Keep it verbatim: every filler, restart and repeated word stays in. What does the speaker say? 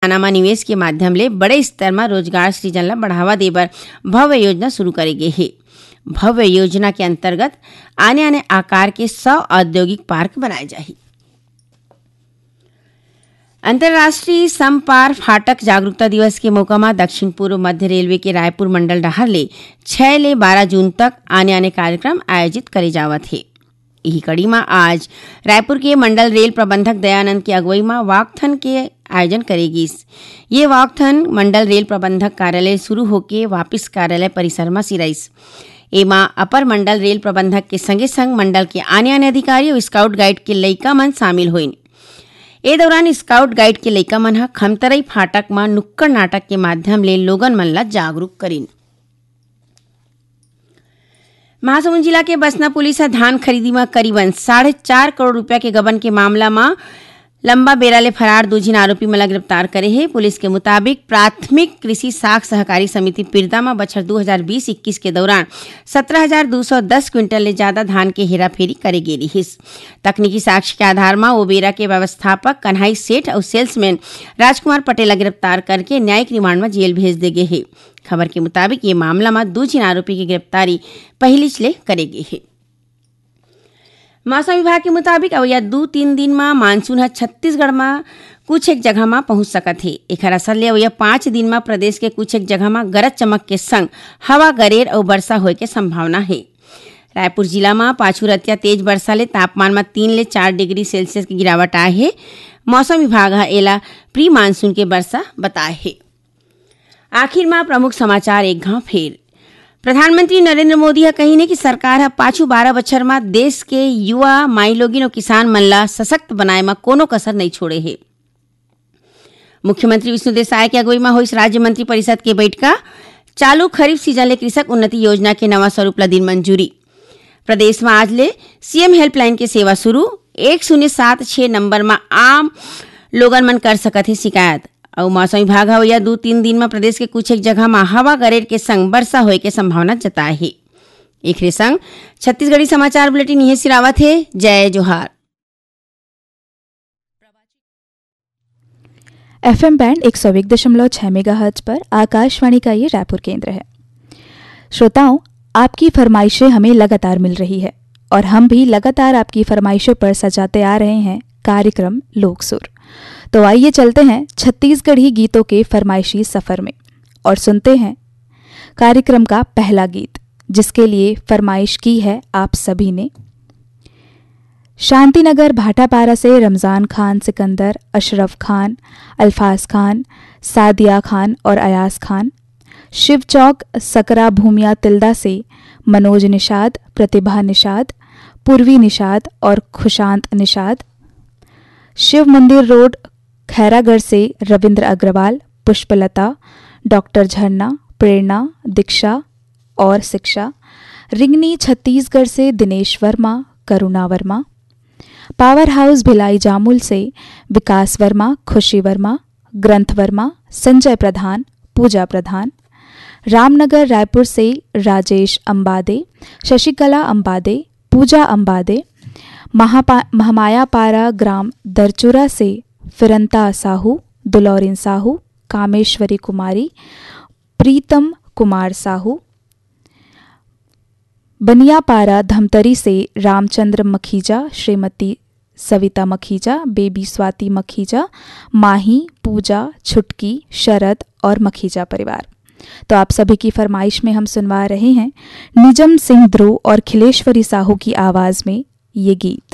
कारखाना म निवेश के माध्यम ले बड़े स्तर म रोजगार सृजन ल बढ़ावा दे बर भव्य योजना शुरू करे गे हे। भव्य योजना के अंतर्गत आने-आने आकार के सौ औद्योगिक पार्क बनाए जाही। अंतर्राष्ट्रीय समपार फाटक जागरूकता दिवस के मौका म दक्षिण पूर्व मध्य रेलवे के रायपुर मंडल डहार ले छह ले बारह जून तक आने-आने कार्यक्रम आयोजित करे जावत हे। इही कड़ी म आज रायपुर के मंडल रेल प्रबंधक दयानंद के अगुवई म वॉकथन के आयोजन करे गिस। ये वॉकथन मंडल रेल प्रबंधक कार्यालय शुरू होके वापिस कार्यालय परिसर म सिराइस। एमा अपर मंडल रेल प्रबंधक के संगे संग मंडल के आने-आने अधिकारी अउ स्काउट गाइड के लइका मन शामिल होइन। ए दौरान स्काउट गाइड के लइका मन ह खमतरई फाटक म नुक्कड़ नाटक के माध्यम ले लोगन मन ल जागरूक करिन। महासमुंद जिला के बसना पुलिस ह धान खरीदी म करीबन साढ़े चार करोड़ रुपया के गबन के मामला म लंबा बेरा ले फरार दू झिन आरोपी मन ल गिरफ्तार करे हे। पुलिस के मुताबिक, प्राथमिक कृषि साख सहकारी समिति पिरदा म बछर दू हजार बीस इक्कीस के दौरान सत्रह हजार दू सौ दस क्विंटल ले जादा धान के हेराफेरी करे गे रिहिस। तकनीकी साक्ष्य के आधार म ओ बेरा के व्यवस्थापक कन्हई सेठ अउ सेल्समैन राजकुमार पटेल ल गिरफ्तार करके न्यायिक रिमांड म जेल भेज दे गे हे। खबर के मुताबिक, ये मामला म दू झिन आरोपी के गिरफ्तारी पहिलीच ले करे गे हे। मौसम विभाग के मुताबिक, अवइया दू तीन दिन म मानसून ह छत्तीसगढ़ म कुछ एक जगह म पहुंच सकत हे। एखर असर ले अवइया पांच दिन म प्रदेश के कुछ एक जगह म गरज चमक के संग हवा गरेर अउ बरसा होए के संभावना हे। रायपुर जिला म पाछू रतिया तेज बरसा ले तापमान म तीन ले चार डिग्री सेल्सियस के गिरावट आए हे। मौसम विभाग ह एला प्री मानसून के बरसा बताए हे। आखिर म प्रमुख समाचार एक घांव फेर। प्रधानमंत्री नरेंद्र मोदी ह कहिन हे कि सरकार ह पाछू बारह बछर म देश के युवा, माईलोगिन अउ किसान मन ल सशक्त बनाए म कोनो कसर नइ छोड़े हे। मुख्यमंत्री विष्णुदेव साय के अगुवई म होइस राज्य मंत्री परिषद के बइठका। चालू खरीफ सीजन ले कृषक उन्नति योजना के नवा स्वरूप ल दिन मंजूरी। प्रदेश म आज ले सीएम हेल्पलाइन के सेवा शुरू। एक शून्य सात छह नंबर म आम लोगन मन कर सकत हे शिकायत। अउ मौसम विभाग ह अवइया दू तीन दिन म प्रदेश के कुछ एक जगह म हवा गरेर के संग बरसा होए के संभावना जताए हे। एखरे संग छत्तीसगढ़ी समाचार बुलेटिन इहें सिरावत हे। जय जोहार। एफएम बैंड एक सौ एक दशमलव छह मेगाहर्ट्ज पर आकाशवाणी का ये रायपुर केंद्र है। श्रोताओं, आपकी फरमाइशें हमें लगातार मिल रही है और हम भी लगातार आपकी फरमाइशों पर सजाते आ रहे हैं कार्यक्रम लोक सुर। तो आइए, चलते हैं छत्तीसगढ़ी गीतों के फरमाइशी सफर में और सुनते हैं कार्यक्रम का पहला गीत, जिसके लिए फरमाइश की है आप सभी ने। शांतिनगर भाटापारा से रमजान खान सिकंदर, अशरफ खान, अल्फाज खान, सादिया खान और अयास खान। शिव चौक सकरा भूमिया तिल्दा से मनोज निषाद, प्रतिभा निषाद, पूर्वी निषाद और खुशांत निषाद। शिव मंदिर रोड खैरागढ़ से रविंद्र अग्रवाल, पुष्पलता, डॉक्टर झरना, प्रेरणा, दीक्षा और शिक्षा। रिंगनी छत्तीसगढ़ से दिनेश वर्मा, करुणा वर्मा। पावर हाउस भिलाई जामुल से विकास वर्मा, खुशी वर्मा, ग्रंथ वर्मा, संजय प्रधान, पूजा प्रधान। रामनगर रायपुर से राजेश अंबादे, शशिकला अंबादे, पूजा अंबादे। महापा-, महामायापारा ग्राम दरचुरा से फिरंता साहू, दुलौरिन साहू, कामेश्वरी कुमारी, प्रीतम कुमार साहू। बनियापारा धमतरी से रामचंद्र मखीजा, श्रीमती सविता मखीजा, बेबी स्वाति मखीजा, माही, पूजा, छुटकी, शरद और मखीजा परिवार। तो आप सभी की फरमाइश में हम सुनवा रहे हैं निजम सिंह ध्रुव और खिलेश्वरी साहू की आवाज़ में ये गीत।